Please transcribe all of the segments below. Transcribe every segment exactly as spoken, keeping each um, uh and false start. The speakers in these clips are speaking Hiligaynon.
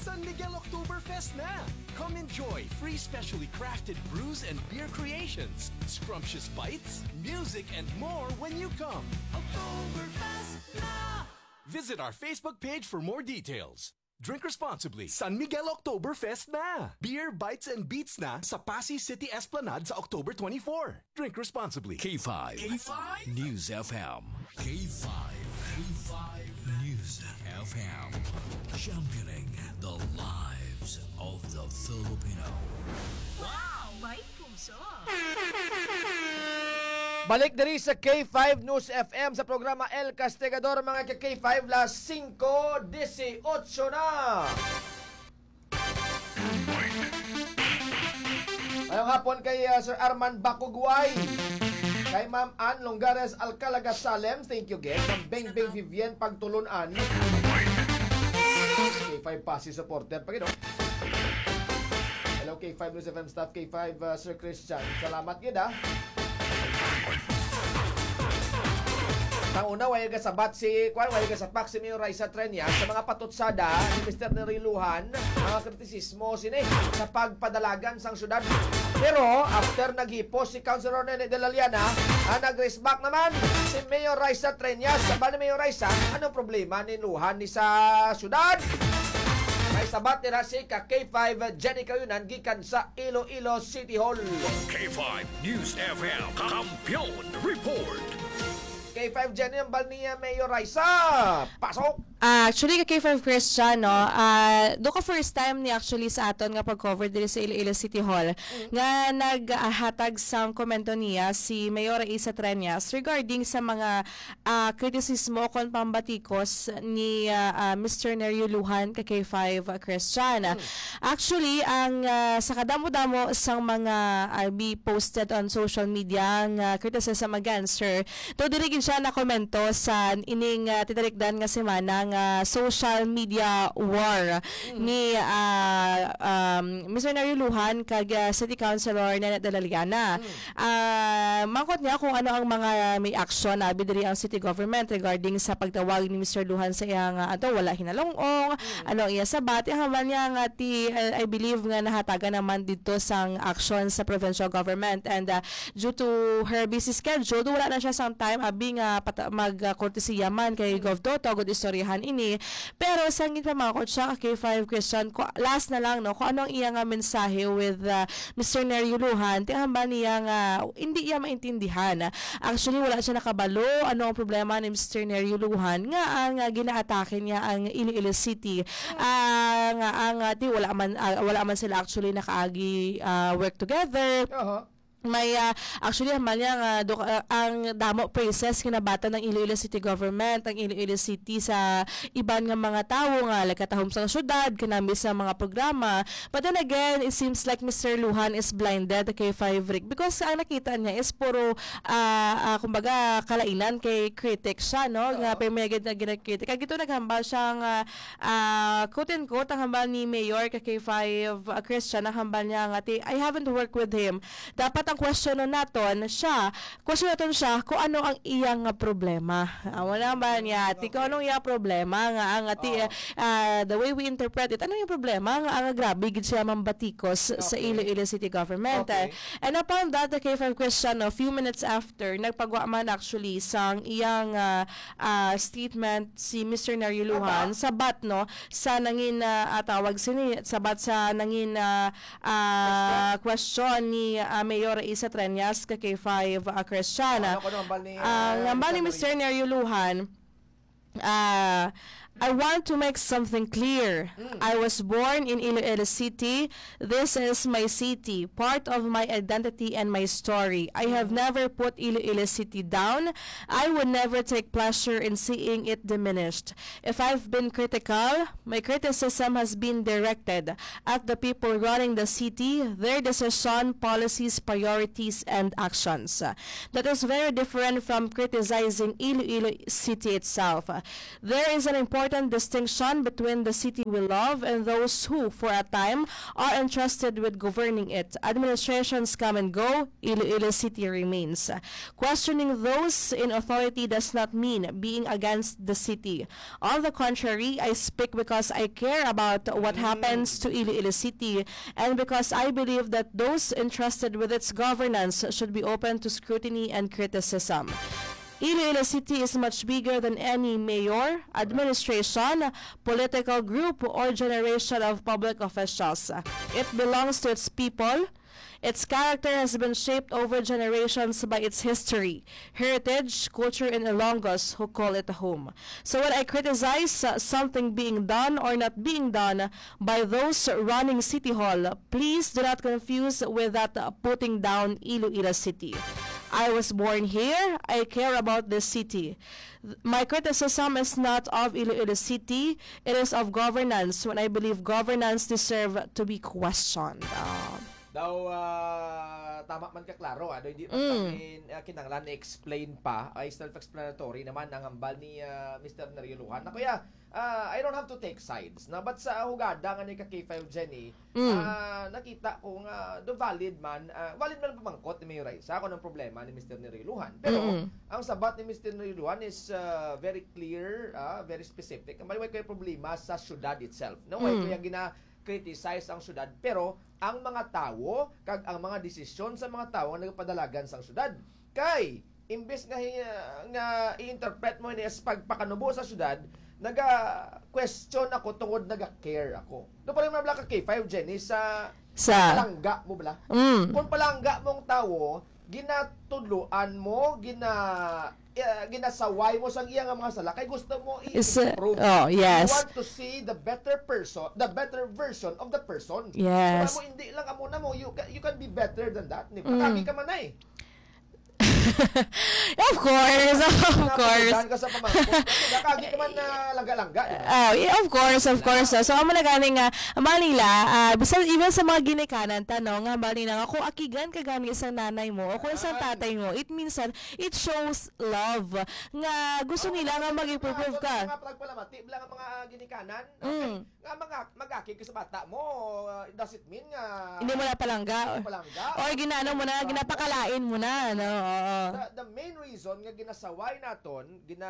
San Miguel Oktoberfest na! Come enjoy free specially crafted brews and beer creations, scrumptious bites, music, and more when you come. Oktoberfest na! Visit our Facebook page for more details. Drink responsibly. San Miguel Oktoberfest na! Beer, bites, and beats na sa Passi City Esplanade sa October twenty-four. Drink responsibly. K five K five News F M. K five K five News F M. Championing the lives of the Filipino. Wow! May puso! Balik diri sa K five News F M sa programa El Castigador, mga ka-K five, las singko dieciocho na. Ngayong hapon kay, ah, Sir Arman Bakugway, kay Ma'am Ann Longares Alcalaga Salem, thank you, guest. Ma'am Beng Beng Vivian Pagtulunan, K five Passi supporter pa gid, oh. Hello, K five News F M staff, K five, uh, Sir Christian. Salamat gid, ah. Ang una, way gasabat si, kwan, way gasapak si Mayor Raisa Treñas sa mga patutsada ni Mister Neriluhan, mga kritisismo sini sa pagpadalagan sang syudad. Pero after naghipos si Councilor Nene de la Llana, ang nag-respond naman si Mayor Raisa Treñas. Sabi ni Mayor Raisa, anong problema ni Luhan ni sa syudad? May sabat nila si ka K five Jenny Kayunan gikan sa Iloilo City Hall. K five News F M Kampiyon Report. K five Jenny, ang bal niya Mayor Raisa. Pasok! Ah, actually, ka K five Christian, no? Ah, do ka first time ni actually sa aton nga pag-cover diri sa Iloilo City Hall nga naghatag sang komento niya si Mayor Raisa Treñas regarding sa mga ah, kritisismo kon pambatikos ni, ah, ah, Mister Nerio Lujan ka K five, ah, Christian. Hmm. Actually, ang, ah, sa kadamo-damo sang mga, ah, be posted on social media nga criticism against her, to diri gid siya nakomento sa ining, ah, tinalikdan nga semana nga social media war Hmm. ni, ah, um, Mister Nerio Lujan kag, ah, City Councilor Nene de la Llana. Hmm. Ah, mangkot niya kung ano ang mga may aksyon na abi diri ang city government regarding sa pagtawag ni Mister Lujan sa iyang, ah, ato, wala hinalong-ong, Mm. ano ang iya sabat. Ang hambal niya nga ti, ah, I believe nga nahatagan naman dito sang aksyon sa provincial government and, ah, due to her busy schedule, wala na siya sang time abi nga pata-, mag, ah, kortesiya man kay Mm. Gov Toto, agud istoryahan ini. Pero sang ginpamangkot siya ka K five Christian, ko, last na lang, no, kung ano ang iya nga mensahe with, ah, Mister Nerio Lujan, ti hambal niya nga hindi iya maintindihan. Actually, wala siya nakabalo ano ang problema ni Mister Nerio Lujan nga ang, ah, ginaatake niya ang Iloilo City. Ah, nga ang, ah, ti wala man, ah, wala man sila actually nakaagi, ah, work together. Aha. May, ah, actually, hambal niya nga do-, ah, ang damo praises kinabatan ng Iloilo City Government, ang Iloilo City sa iban nga mga tawo nga nagkatahom sa syudad, kanami sa mga programa. But then again, it seems like Mister Lujan is blinded kay Five Rick because ang nakita niya is puro, ah, ah, kumbaga, kalainan kay critic siya, no? Nga Oo. Permi na gid na ginakritik. Kag ito naghambal siya nga, ah, quote and quote, ang hambal ni Mayor ka K five, ah, Christian, ang hambal niya nga, ti, "I haven't worked with him." Dapat ang question naton siya, Question naton siya kung ano ang iya nga problema. Amo na ba niya? Ti, kung anong iya problema nga ang ati, Oo. ah, the way we interpret it, ano yung problema nga ang grabe gid siya mambatikos sa Okay. Iloilo City Government? Okay. And upon that, the K five Christian, a few minutes after, nagpagwa man actually sang iyang, ah, ah, statement si Mister Nerio Lujan Aba. Sabat, no, sa nangin, ah, ah, tawag sini, sabat sa nangin, ah, ah, question ni, ah, Mayor Isa Treñas ka K five, ah, Christian. Ano ko naman ba ni, Ang ah, hambal ni Mister Nerio Lujan, ah, "I want to make something clear. Mm. I was born in Iloilo City. This is my city, part of my identity and my story. I have Mm. never put Iloilo City down. I would never take pleasure in seeing it diminished. If I've been critical, my criticism has been directed at the people running the city, their decision, policies, priorities, and actions. That is very different from criticizing Iloilo City itself. There is an important important distinction between the city we love and those who, for a time, are entrusted with governing it. Administrations come and go, Iloilo City remains. Questioning those in authority does not mean being against the city. On the contrary, I speak because I care about what happens to Iloilo City and because I believe that those entrusted with its governance should be open to scrutiny and criticism. Iloilo City is much bigger than any mayor, administration, political group, or generation of public officials. It belongs to its people. Its character has been shaped over generations by its history, heritage, culture, and Ilonggos who call it home. So when I criticize uh, something being done or not being done by those running City Hall, please do not confuse with that uh, putting down Iloilo City. I was born here. I care about this city. My criticism is not of Iloilo City. It is of governance when I believe governance deserve to be questioned. Ah. Daw ah, tama man ka klaro, ano, hindi man Mm. kami ah, kinahanglan na explain pa, ay self-explanatory naman ang hambal ni ah, Mister Neriluhan. Na kuya, ah, I don't have to take sides, no? But sa hugada nga ni ka K five Jenny, Mm. ah, nakita ko nga do valid man, ah, valid man ang pamangkot ni Mayor Raisa kung anong problema ni Mister Neriluhan. Pero Mm-mm. ang sabat ni Mister Neriluhan is ah, very clear, ah, very specific. Ang may kay problema sa syudad itself. No, way Mm. kaya gina-criticize ang syudad, pero ang mga tawo kag ang mga desisyon sa mga tawo nga nagapadalagan sang syudad kay imbes nga hi- nga i-interpret mo ini as pagpakanubo sa syudad, naga-question ako tungod naga-care ako. Do pa rin mga ka K five, Jenny, sa Sa palangga mo bala? Mm. Kung palangga mong tawo, ginatudloan mo, gina eh, ginasaway mo sang iya nga mga sala kay gusto mo Is, uh, i-improve. Oh, yes. You want to see the better person, the better version of the person. Yes. Kaya mo, hindi lang amo na mo, you can, you can be better than that. Ni Mm. Pagkami ka man ay. Of course, of course. Napagudan ka sa pamangkot. Kasi nakagi ka man na langga-langga, di ba? Oh, yeah, of course, of course. So, so amo na gani nga, Manila, ah, bisan even sa mga ginikanan ta, no, nga Manila, nga kung akigan ka gani isang nanay mo o kung isang tatay mo, it means that it shows love nga gusto nila nga mag-improve ka. Mga pagpalamati, lang ang mga ginikanan. Mm. Nga mga mag-aki ka sa bata mo, uh, does it mean nga Hindi mo na palangga. Palangga? Or ginaano mo na, ginapakalain mo na, no? Oo. The, the main reason nga ginasaway naton, gina,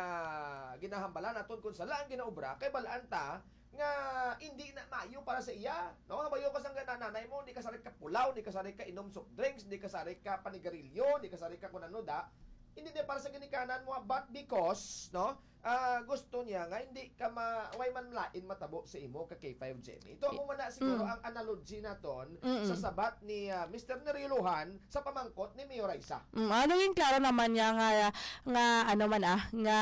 ginahambala naton kung sala ang ginaobra, kay balaan ta nga hindi na maayo para sa iya. No? Mayo ka sang nanay mo, hindi ka sarik ka pulaw, hindi ka sarik ka inom soft drinks, hindi ka sarik ka panigarilyo, hindi ka sarik ka kung ano da. Hindi na para sa ginikanan mo, but because, no, ah, gusto niya nga hindi ka ma way man lain matabo sa imo ka K five Jenny. Ito amo man na siguro Mm. ang analogy naton Mm-mm. sa sabat ni ah, Mister Neriluhan sa pamangkot ni Mayor Raisa. Mm, ano yung klaro naman niya nga nga ano man ah nga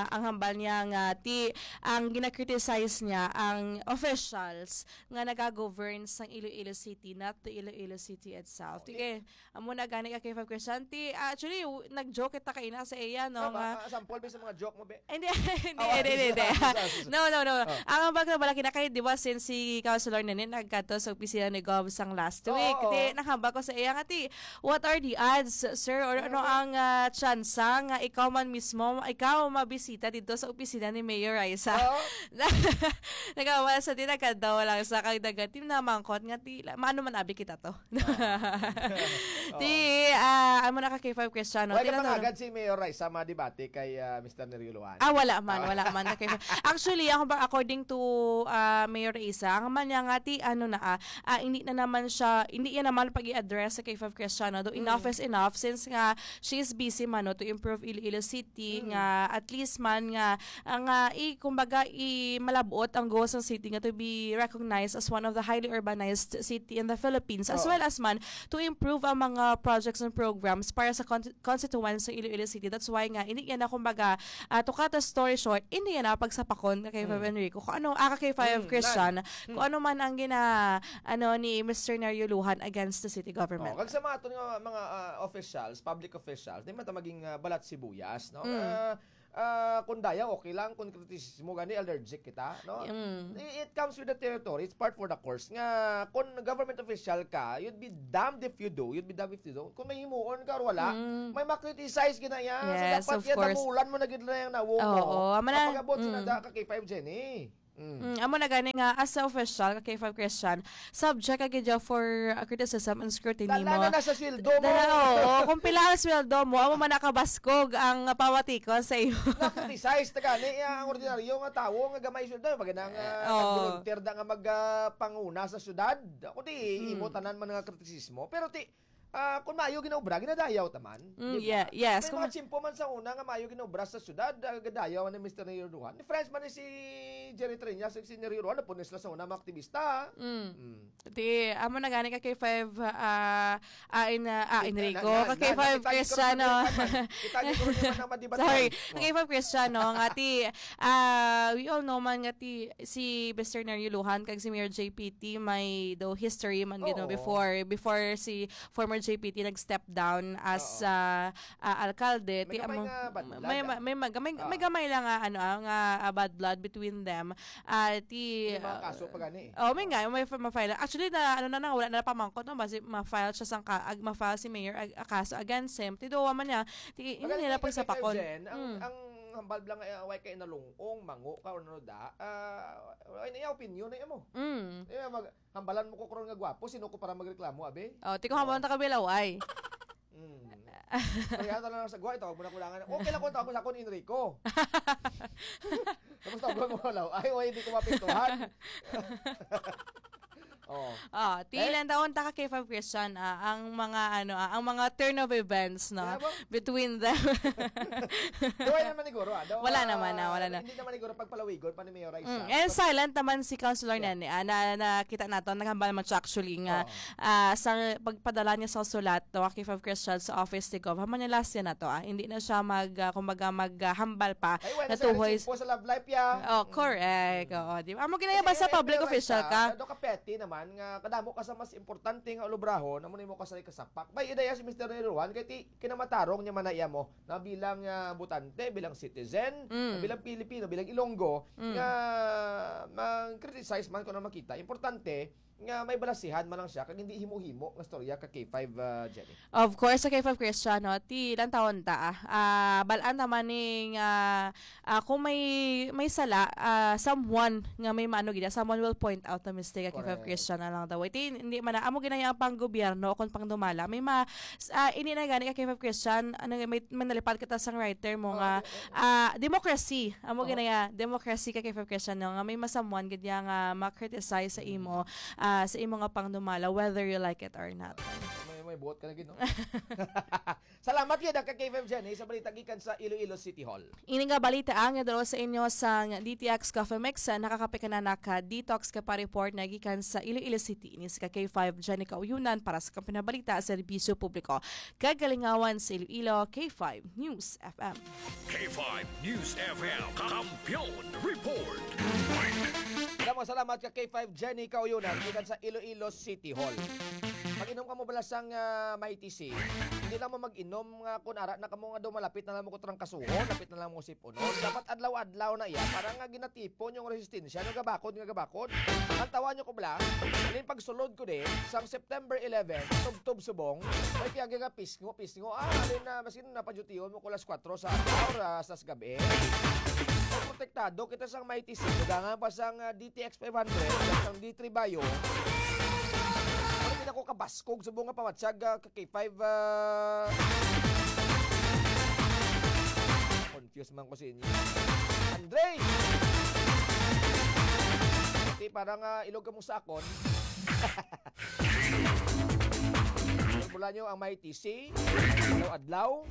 ang hambal niya nga ti ang gina-criticize niya ang officials nga nagagovern sang Iloilo City, not the Iloilo City itself. Sige, amo na gani ka K five question. Ti actually w- nag-joke kita kaina sa iya no Ah, nga ba- ah, sample ba sa mga joke mo, be? Hindi, hindi, Oh, hindi, hindi, hindi. sorry, sorry, sorry. No, no, no. Oh. Ang hambal ko bala kina kay, di ba, since si Councilor Nene nagkadto sa opisina ni Gov sang last Oo, week, oo. di, nahambal ko sa iya nga, ti, what are the odds, sir? Or ano Mhm. ang ah, tsansa nga ikaw man mismo, ikaw mabisita dito sa opisina ni Mayor Raisa? Oo. Nagawala sa ti, nagkadaw lang sa kag dagat, ti, namangkot nga, ti, la- maano man abi kita to? Ti, ah, amo na ka K five question, no? Wala Ti, ka na- pangagad si Mayor Raisa madebate kay ah, Mister Neriluhan. Ah, wala man, wala man. Okay. Actually, ako ba, according to ah, Mayor Isa, ang man niya nga ti, ano na, ah, ah, hindi na naman siya, hindi niya naman pag-i-address sa K five Cristiano. Though enough is enough since nga she is busy man no, to improve Iloilo City, nga at least man nga, ang, ah, i, kumbaga, i, malabot ang goals ng city nga to be recognized as one of the highly urbanized city in the Philippines, as Oo. well as man to improve ang mga projects and programs para sa con- constituents sa Iloilo City. That's why nga, hindi niya na, kumbaga, ah, to cut the story short, hindi niya na pagsapakon ka kay Five Enrico. Kung ano, ah, ka kay Five Mm, Christian, nan. kung ano man ang gina, ano, ni Mister Neriuluhan against the city government. Oh, kag sa mga aton nga mga ah, officials, public officials, di man ta maging ah, balat sibuyas, no? Mm. Ah, ah, kung dayaw, okay lang. Kung kritisismo, gani, allergic kita, no? Mm. I- It comes with the territory. It's part for the course. Nga, kung government official ka, you'd be damned if you do, you'd be damned if you don't. Kung may himuon ka or wala, Mm. may makriticize gina iya. So, Yes, dapat of yan, course. damulan mo na gid na yung nawong mo. Oo, amo na. Kapag-abot sa Mm. nada ka K five, Jenny. Mm. Mm, amo na gani nga, as a official, ka K five Christian, subject ka gid for, uh, criticism and scrutiny Dala mo. na na sa sweldo mo. Dala, oo, kung pila ang sweldo mo, amo man nakabaskog ang pawatikon sa iyo. Na-criticize ta gani, eh, ang ordinaryo nga tawo nga gamay sweldo, maganda nga Eh, oo. nag-volunteer da nga mag, ah, panguna sa syudad. Ako di, Hmm. imo tanan man nga kritisismo. Pero ti, ah, kung maayo ginaobra, ginadayaw ta man, Mm, di ba? yeah, yes, May kung mga tiyempo man sa una nga maayo ginaobra sa syudad, ah, gadayaw ni Mister Nero Duhan. Ni friends man ni si Jerry Treñas, si Nero Duhan, napunis na sa una mga aktivista. Mm. Mm. Di, amo na gani ka K five, ah, ah, in, ah, ah, Enrico, na, na, ka K five na, kita, Christiano. Kita, kita, kita, kita, kita, kita, kita, kita, Sorry, kita, kita, ka K five Christiano, nga ti, ah, we all know man nga ti, si Mister Nero Lujan kag si Mayor J P T may daw history man gid, no, Oo. before, before si former J P T nag-step down as, Oo. ah, ah, alkalde. May Ti gamay amo, nga bad blood, may, ah. may, may, may, may Oh. gamay lang nga, ano, ah, nga, ah, bad blood between them. Ah, ti, May mga ah, kaso pa gani eh. Oh, may Oh. nga, may fa-, ma-file. Actually, na, ano na, na, wala na pamangkot, no? Basi ma-file siya sang ka-, ag-, ma-file si Mayor ag-, a kaso against him. Ti duwa man niya, ti, hindi Magaling nila ka kay pagsapakon. Jen. Ang, Mm. ang hambal lang, eh, way kay nalungong, mango ka, or ano da, ah, wala na iya opinion na mo. Mm. Di ba, mag-, hambalan mo ko karon nga gwapo, sino ko para magreklamo, abi? Oh, ti ko Oh. hambalan ta ka bilaw, ay. Mm. Kaya ito lang sa guwa, ito, huwag mo na kulangan. Okay lang kung tawag mo sa akon, Enrico. Tapos tawag mo, wala. Ay, oy, hindi ko mapintuhan. Oh. Ah, ti Eh? ilan taon ta ka K five Christian, ah, ang mga, ano, ah, ang mga turn of events, no, Kaya ba? between them. Di, wala naman siguro, ah. Daw, Wala ah, naman, ah, wala na. Hindi naman siguro pagpalawigon pa ni Mayor Raisa. Mm, and Pag- silent naman si Councilor Yeah. Nene, ah, na, nakita nato, naghambal man siya actually nga, Oo. ah, sa pagpadala niya sa sulat, no, K five Christian sa office ni Gov. Haman niya last year na to, ah. Hindi na siya mag, ah, kumbaga, mag, ah, hambal pa Ay, wala na siya tuhoy nagsimpo sa love life, ya. Oh, Mm. correct. Mm. Oo, di ba? Amo ginaya Kasi ba sa yung public Mayor official Raisa, ka? Ano ka petty naman nga kadamo ka sa mas importante nga ulubrahon, amo nimo ka sa kasapak. Bay, idaya si Mister Nero Juan, kay ti-, kinamatarong niya man na iya mo na bilang, ah, botante, bilang citizen, Mm. bilang Pilipino, bilang Ilonggo, Mm. nga mag-criticize man kung ano makita. Importante nga may balasihan man lang siya, kag hindi himo-himo nga storya ka K five, ah, Jenny. Of course, sa K five Christian, no, ti ilang taon ta, ah, ah, balaan naman ning, ah, ah, kung may, may sala, ah, someone nga may maano gid, someone will point out the mistake, K five Correct. Christian na lang daw. Iti, hindi man na, amo ginaya ang pang gobyerno, kung pang dumala. May ma-, s-, ah, ini na gani ka K five Christian, ano, may, may nalipad kita sang writer mo Oh, nga, okay, okay. ah, democracy. Amo Oh. ginaya, democracy ka K five Christian, no, nga may masamuan gid niya nga ma-criticize sa Mm. imo, ah, sa imo nga pang dumala, whether you like it or not. May, may buot ka na gid, no? Salamat gid, ka K five Jenny, sa balita gikan sa Iloilo City Hall. Ini nga balita ang idulog sa inyo sang D T X Coffee Mix, ah, nakakape ka na naka detox ka pa report na gikan sa Iloilo City. Ini si ka K five Jenny Kauyunan para sa Kampiyon nga Balita, Serbisyo Publiko, kag Kalingawan sa Iloilo, K five News F M. K five News F M, Kampiyon Report. Damo salamat ka K five Jenny Kauyunan, gikan sa Iloilo City Hall. Mag-inom ka mo bala sang, ah, Mighty C. Hindi lang mo mag-inom nga kung ara na kamo nga daw malapit na lang mo ko trangkasuhon, lapit na lang mo sip-unon. Dapat adlaw-adlaw na iya para nga ginatipon yung resistensya. Ano gabakod nga gabakod? Ang tawa nyo ko bala, alin pagsulod ko di, sang September eleven, tubtob subong, may kaya nga pisngo, pisngo. Ah, alin na, maski na padyutiyon mo ko alas kwatro sa adlaw, oras sa gabi. Protektado kita sang Mighty C. Dagangan pa sang, ah, D T X five hundred, sang D three Bio. Ano din ako kabaskog sa bunga pawatsag, ah, ka K five, ah, confused man ko sa inyo. Andre! Pati parang, ah, ilog ka mo sa akon. Mula nyo ang Mighty C, adlaw-adlaw,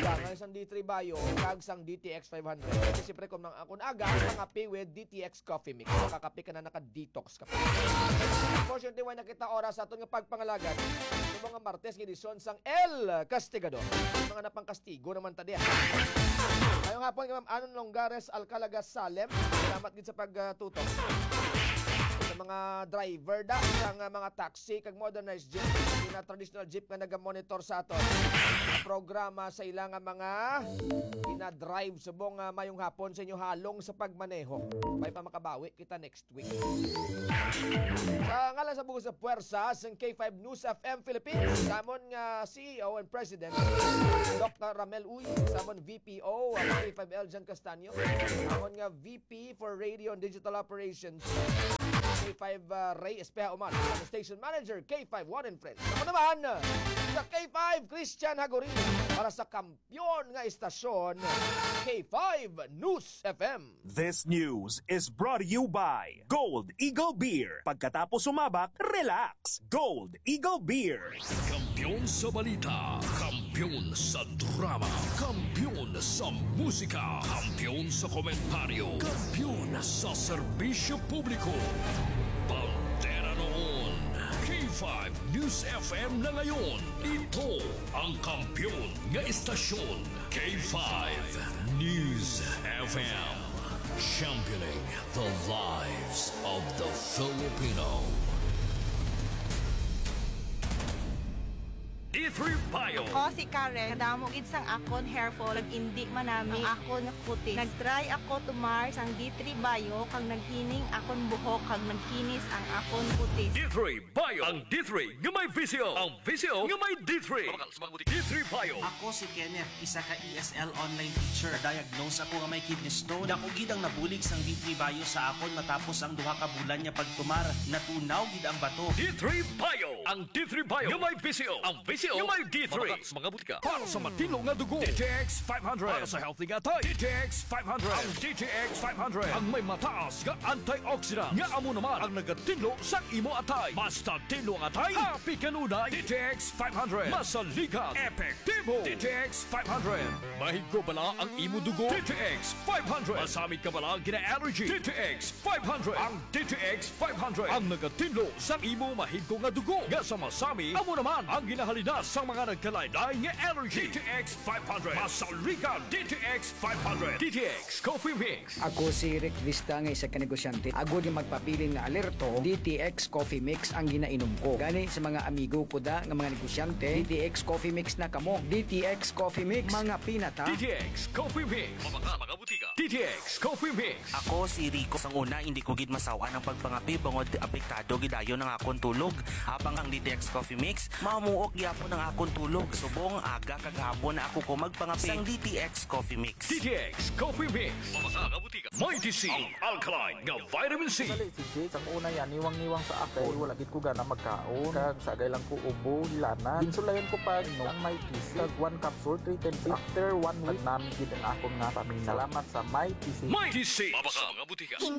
kailangan sang D three Bio, kag sang D T X five hundred. Kasi siyempre, kung nang akon aga, mangape with D T X Coffee Mix. Makakape ka na, naka-detox ka pa. Unfortunately, wala na kita oras sa aton nga pagpangalagad. Sa mga Martes, nga edisyon sang El Castigador. Mga napangkastigo naman ta diya. Ngayong hapon, kay Ma'am Anon Longares Alcalaga Salem. Salamat gid sa pagtutok. Sa mga driver da sa nga mga taxi kag modernized jeep, ina traditional jeep nga nagamonitor sa aton programa sa ila nga mga ina-drive subong nga mayong hapon sa inyo halong sa pagmaneho. May pa makabawi kita next week. Sa ngalan sa buhos sa puwersa sang K five News F M Philippines, samon nga C E O and President, Doctor Ramel Uy, samon V P O, ang K five L John Castanyo, samon nga V P for Radio and Digital Operations, K five uh, Ray Espeha Umar, samon Station Manager, K five One and Friends. Ako naman, sa K five Christian Hagorin, para sa kampiyon nga istasyon, K five News F M. This news is brought to you by Gold Eagle Beer. Pagkatapos sumabak, relax. Gold Eagle Beer. Kampiyon sa balita, kampiyon sa drama, kampiyon sa musika, kampiyon sa komentaryo, kampiyon sa serbisyo publiko. Bandera noon, K five News F M na ngayon. Ito ang kampiyon nga istasyon, K five News F M. Championing the lives of the Filipino. D three Bio. Ako si Karen. Kadamo gid sang akon hair fall, nag-indi manami ang akon kutis. Nag-try ako tumar sang D three Bio, kag naghining akon buhok, kag nagkinis ang akon kutis. D three Bio. Ang D three nga may V C O. Ang V C O nga may D three. D three Bio. Ako si Kenneth, isa ka E S L online teacher. Diagnose ako nga may kidney stone. Dako gid ang nabulig sang D three Bio sa akon matapos ang duha ka bulan nga pagtumar. Natunaw gid ang bato. D three Bio. Ang D three Bio nga may V C O. Ang V C O nga may D three. Mabakal sa mga butika. Para sa matinlo nga dugo, D T X five hundred. Para sa healthy nga atay, D T X five hundred. Ang D T X five hundred ang may mataas nga antioxidant, nga amo naman ang nagatinlo sa imo atay. Basta tinlo ang atay, happy kanunay. D T X five hundred. Masaligan, epektibo. D T X five hundred. Mahigko bala ang imo dugo? D T X five hundred. Masami ka bala ang gina-allergy? D T X five hundred. Ang D T X five hundred ang nagatinlo sa imo mahigko nga dugo nga sa masami, amo naman ang ginahalinas sa mga nagkalain-lain nga allergy. D T X five hundred. Masaligan, D T X five hundred. D T X Coffee Mix. Ako si Rick Vista nga isa ka negosyante. Agod nga magpabilin nga alerto, D T X Coffee Mix ang ginainom ko. Gani sa mga amigo ko da nga mga negosyante, D T X Coffee Mix na kamo. D T X Coffee Mix, mga pinata. D T X Coffee Mix. Mabakal sa mga butika. D T X Coffee Mix. Ako si Rico. Sang una, hindi ko gid masaw-an ang pagpangape bangod apektado gid dayon ang akon tulog. Habang ang D T X Coffee Mix, mamuok gyapon ang akon tulog. Subong aga kag hapon na ako ko magpangape sang D T X Coffee Mix. D T X Coffee Mix. Mabakal sa mga butika. Mighty C, ang alkaline nga vitamin C. Dali, si Jade, sang una yan, niwang-niwang sa ako. Wala gid ko gana magkaon. Kag sagay lang ko ubo, hilana. Ginsulayan ko pa, no, ang Mighty C. Kag one capsule, three times. After one week, nagnami gid ang akong nga pamina. Salamat sa Mighty C. Mighty C. Mabakal sa mga butika. King